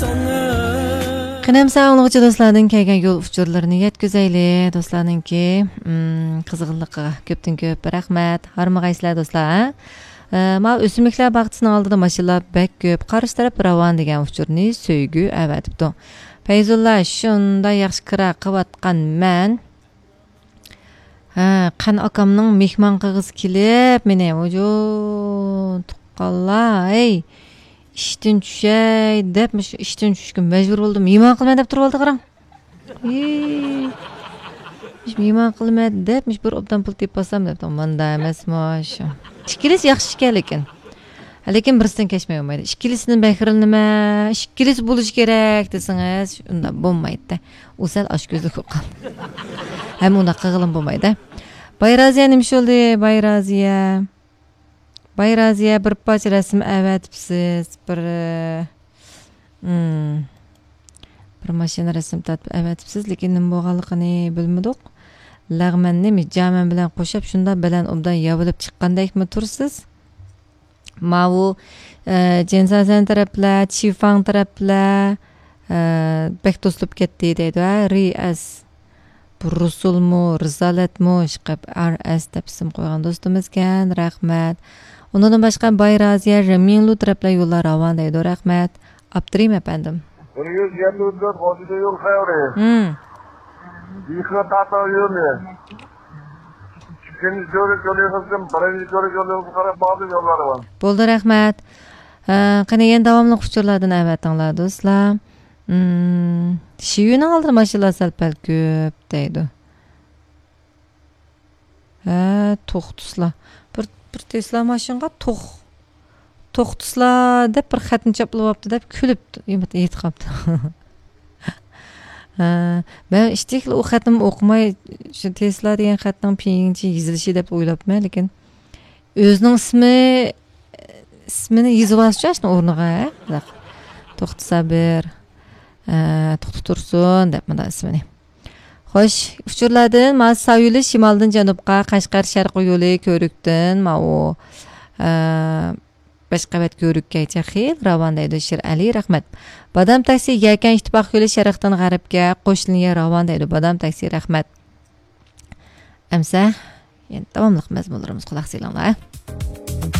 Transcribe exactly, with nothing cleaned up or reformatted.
قېنى ئەمسە ئاڭلىغۇچى دوستلاردىن كەلگەن يول ئۇچۇرلىرىنى يەتكۈزەيلى. دوستلارنىڭكى، ئىم، قىزغىنلىقىغا كۆپتىن كۆپ رەھمەت. ھارمىغايسىلەر دوستلار، ھە؟ ئە، ماۋۇ ئۆسۈملۈكلەر باغچىسىنىڭ ئالدىدا ماشىنىلار بەك كۆپ. قارشى تەرەپ راۋان دېگەن ئۇچۇرنى سۆيگۈ ئەۋەتىپتۇ. پەيزۇللا، شۇنداق ياخشى كىرا قىلىۋاتقانمەن. ھە، قەن ئاكامنىڭ مېھمان قىلغۇسى كېلىپ مېنى، ۋۇجۇ، تۇغقانلار، ھەي، ئىشتىن چۈشەي دەپ، مۇشۇ ئىشتىن چۈشۈشكە مەجبۇر بولدۇم. مېھمان قىلىمەن دەپ تۇرۇۋالدى، قاراڭ. ھېي، مېھمان قىلىمەن دەپ، مۇشۇ بىر ئوبدان پۇل تېپىپ ئالسام دەپ، مانداق ئەمەسمۇ شۇ. ئىككىلىسى ياخشى ئىكەن لېكىن. لېكىن بىرسىدىن كەچمەي بولمايدۇ. ئىككىلىسىدىن بەھرىلىنىمەن، ئىككىلىسى بولۇشى كېرەك دېسىڭىز، ئۇنداق بولمايدۇ. ئۇ سەل ئاچكۆزلۈك بولۇپ قالدى. ھەم ئۇنداق قىلغىلىمۇ بولمايدۇ. باي رازىيە نېمە ئىش بولدى؟ باي رازىيە. باي رازىيە بىر پارچە رەسىم ئەۋەتىپسىز. بىر، ئىم، بىر ماشىنا رەسىم تارتىپ ئەۋەتىپسىز، لېكىن نېمە بولغانلىقىنى بىلمىدۇق. لەغمەننى جامەن بىلەن قوشۇپ شۇنداق بەلەن ئوبدان ياۋىلىپ چىققاندەكمۇ تۇرسىز؟ ماۋۇ، ئە، جېنسازەن تەرەپلەر، چىفاڭ تەرەپلەر، ئە، بەك توسۇلۇپ كەتتى دەيدۇ، ھە، رى ئەس. بۇ رۇسۇلمۇ، رىزالەتمۇ، ئىشقىلىپ ئار ئەس دەپ ئىسىم قويغان دوستىمىزكەن، رەھمەت. ئۇنىڭدىن باشقا باي رازىيە، رېمىنلۇ تەرەپلەر يوللار راۋان دەيدۇ، رەھمەت. ئاپتىرىم ئەپەندىم. بىر يۈز يەتتە ئۆتكەن خوجىدا يول خەۋىرى. ھىم. يىقىنا تاتا يولى. ئىككىنچى كۆۋرۈك يولى قىلسىم، بىرىنچى كۆۋرۈك يولى قىلسا قاراپ باغدىن يوللار بار. بولدى، رەھمەت. ھە، قېنى يەنە داۋاملىق ئۇچۇرلاردىن ئەۋەتىڭلار، دوستلار. ھىم، شىۋىنىڭ ئالدىدا ماشىنىلار سەل پەل كۆپ دەيدۇ. ھە، توختىسىلا. بىر، بىر تېسلا ماشىنىغا توخ-، توختىسىلا دەپ بىر خەتنى چاپلىۋاپتۇ دەپ كۈلۈپ ئېيتقاپتۇ. ھە، مەن ئىشتىكلا ئۇ خەتنىمۇ ئوقۇماي، شۇ تېسلا دېگەن خەتنىڭ پىڭيىنچە يېزىلىشى دەپ ئويلاپمەن، لېكىن ئۆزىنىڭ ئىسمى، ئىسمىنى يېزىۋالسىچۇ ئاشۇنىڭ ئورنىغا، ھە؟ توختى سابىر، ئە، توختى تۇرسۇن دەپ مۇنداق ئىسمىنى. خوش، ئۇچۇرلاردىن مانا ساۋ يولى شىمالدىن جەنۇبقا، قەشقەر شەرقىي يولى كۆۋرۈكتىن ماۋۇ، ئە، بەش قەۋەت كۆۋرۈككەچە خېلى راۋان دەيدۇ شىرئەلى، رەھمەت. بادام تاكسى يەكەن ئىتتىپاق يولى شەرقتىن غەربكە، قوش لىنىيە راۋان دەيدۇ بادام تاكسى، رەھمەت. ئەمسە يەنە داۋاملىق مەزمۇنلىرىمىزغا قۇلاق سېلىڭلار.